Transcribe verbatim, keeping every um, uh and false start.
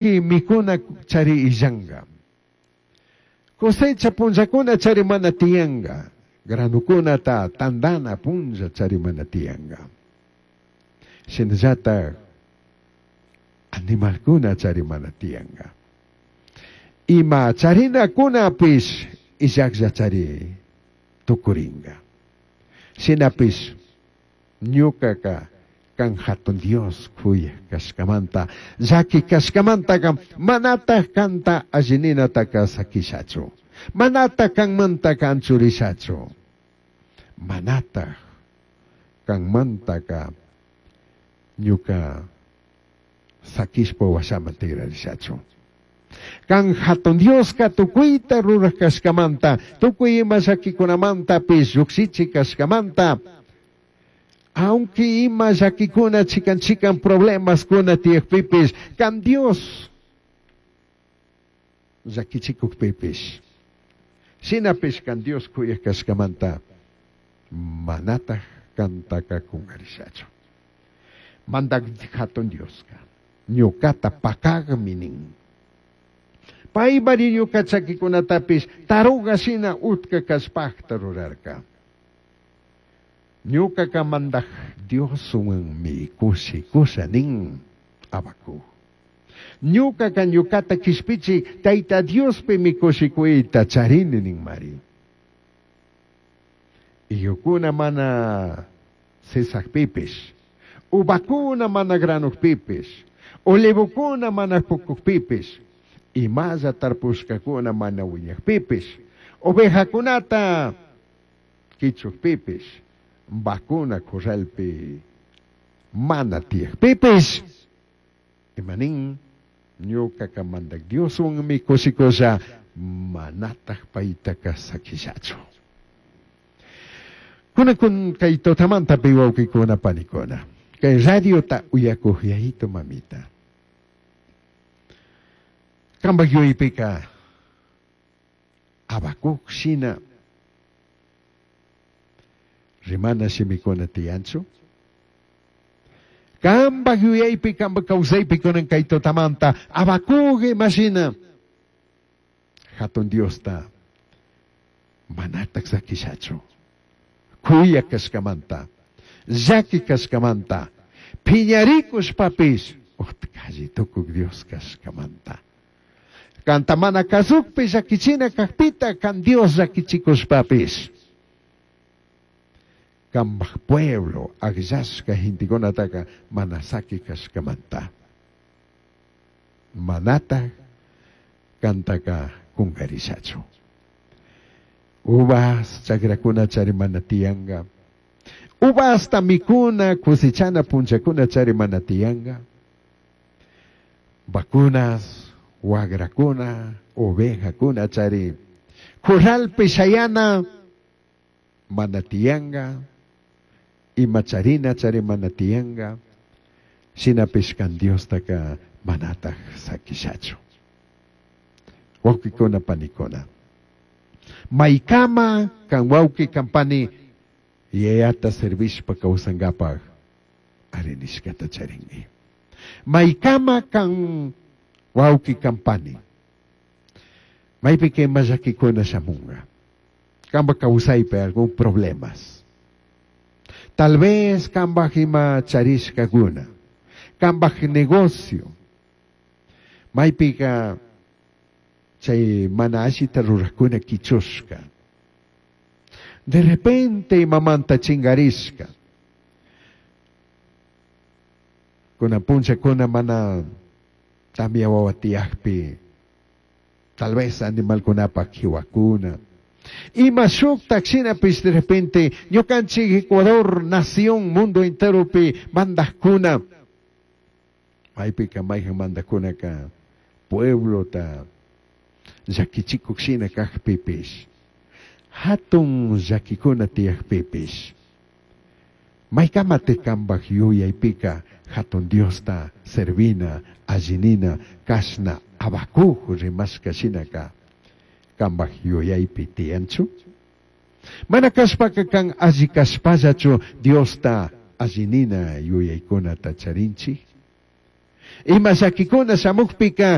Mikuna chari illanga. Cosecha punllakuna chari mana tiyanga. Granukunata tandana punlla chari mana tiyanga. Shinallata animalkuna chari mana tiyanga. Ima charinakunapish illaklla chari tukuringa. Shinapish ñukaka kan hatun Dios kuya kashkamanta llaki kashkamantaka manataq kanta allininataka sakishachu. Manataq kanmantaka anchurishachu. Manataq kanmantaka ñuka sakishpa washaman tigrarishachu. Kan hatun Dioska tukuyta ruraj kashkamanta, tukuy ima llakikunamantapis llukshichi kashkamanta, aunque ima llakikuna chikan chikan problemas kuna tiyakpipis, kan Dios llakichikukpipis. Shinapish kan Dios kuyaj kashkamanta, manataq kantaka kungarishachu. Mandak hatun Dioska, ñukata pakagmi nin. Paymari ñuka chakikunatapis taruga shina utka kashpakta rurarka. Ñukaka mandak Dioswanmi kushikusha nin Habacuc. Ñukaka ñukata kishpichi Tayta Diospimi kushikuyta charini nin mari. Iyukuna mana sisakpipish, uvakuna mana granukpipish, olivokuna mana pukukpipish, imalla tarpushkakuna mana wiñakpipish, ovejakunata kichukpipish, vacuna corralpi mana tiyakpipish, imanin ñukaka mandak Dioswanmi kushikusha manataq paytaka sakishachu. Kuna kun kay tutamanta pi wawqikuna panikuna, kay radiota uyakuq yayito mamita. Kampak yuyaypika Habacuc shina rimana shimikuna tiyanchu. Kampak yuyaypi, kampak kawsaypi kunan kay tutamanta Habacuc imashina hatun Diosta manataq sakishachu. Kuya kashkamanta, llaki kashkamanta, phiñarikushpapis utqalli tukuk Dios kashkamanta. Kanta mana kasukpi llakichina kajpita kan Dios llakichikushpapis. Kambaj pueblo akllashka gentekunataka mana saki kashkamanta. Manataq kantaka kunkarishachu. Uvas chakrakuna chari mana tiyanga. Uvasta mikuna cosechana punchakuna chari mana tiyanga. Vacunas, wagrakuna, ovejakuna chari. Corralpi shayana mana tiyanga. Ima charina chari mana tiyanga. Shinapish kan Diostaka manataq sakishachu. Wawqikuna panikuna. Maykama kan wawqi kan pani yayata servishpa kawsankapaq arinishkata charinmi. Maykama kan wawqi kan pani. Maypika ima llakikuna shamunga. Kamba kawsaypi algún problemas. Tal vez kambaj ima charishkakuna. Kambaj negocio. Maypika chay mana allita rurajkuna kichushka. De repente imamanta chingarishka. Kuna punchakuna mana tamia wawa tiyakpi. Tal vez animalkunapaq kiwakuna. Ima shuktak shinapish de repente ñukanchik Ecuador nación mundo enteropi mandajkuna. Maypika mayjan mandajkunaka pueblota llakichikuk shina kajpipish. Hatun llakikuna tiyakpipish. Maykamate kambaj yuyaypika hatun Diosta servina, allinina, kashna, Habacuc rimashka shinaka kambaj yuyaypi tiyanchu. Mana kashpaka kan alli kashpallachu Diosta allinina yuyaykunata charinchik. Ima llaquicuna shamujpica